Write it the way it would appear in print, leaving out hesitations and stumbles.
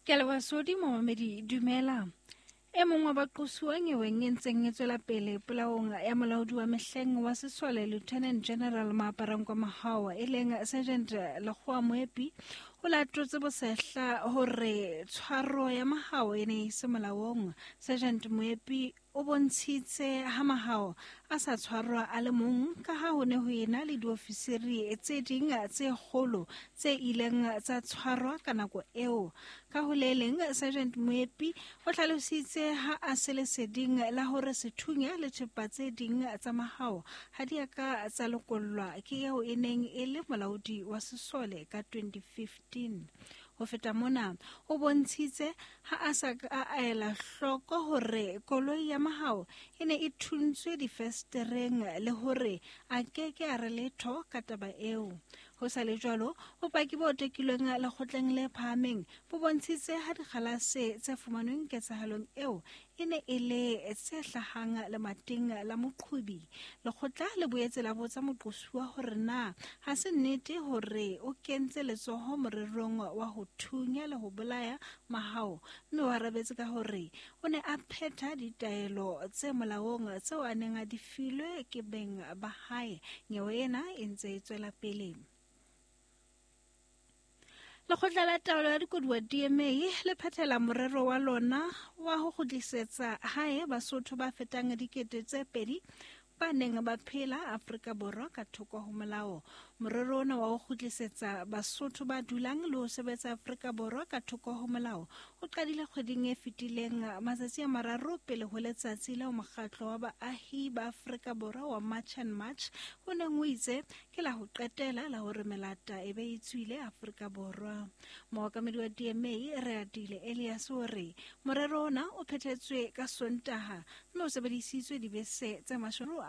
Ke a leboha Sodi momamedi dumela. E mong wa baqosuwa nyeweng e ntseng e tswela pele polaong ya molaodi wa mehleng wa sesole Lieutenant General Maaparankoa Mahao e leng Sergeant Lekgowa Moepi o latotse bosehla hore tshwaro ya Mahao e ne e se molaong. Sergeant Moepi o bontshitse ha Mahao a sa tshwarwa a le mong ka ha ho ne ho ena le diofisiri tse ding tse kgolo tse ileng tsa tshwarwa ka nako eo. Ka ho le leng, Sergeant Moepi o hlalositse ha a se leseding la hore sethunya le thepa tse ding tsa Mahao ha di a ka tsa lokollwa ke eo e neng e le molaodi wa sesole ka 2015. Ho feta mona, o bontshitse ha a sa ka a ela hloko hore koloi ya Mahao e ne e thuntswe difestereng le hore a ke ke a re letho ka taba eo. Ho sa le jwalo, bopaki bo tekilweng lekgotleng le phahameng bo bontshitse ha dikgalase tse fumanweng ketsahalong eo e ne e le tse hlahang lemating la moqhobi. Lekgotla le boetse la botsa moqosuwa hore na ha se nnete hore o kentse letsoho morerong wa ho thunya le ho bolaya Mahao, mme o arabetse ka hore o ne a phetha ditaelo tse molaong tseo a neng a di filwe ke beng ba hae. Nyewe ena e ntse e tswela pele. Lekgotla la Taolo ya Dikoduwa DMA le phethela morero wa lona wa ho kgutlisetsa hae Basotho ba fetang 2000 ba neng ba phela Afrika Borwa ka thoko ho molao. Morero ona wa ho kgutlisetsa Basotho ba dulang le ho sebetsa Afrika Borwa ka thoko ho molao o qadile kgweding e fetileng matsatsi a mararo pele ho letsatsi leo mokgatlo wa baahi ba Afrika Borwa wa March and March o neng o itse ke la ho qetela la hore melata e be e tswile Afrika Borwa. Mookamedi wa DMA Reatile Elias o re morero ona o phethetswe ka Sontaha mme o sebedisitswe dibese tse 11.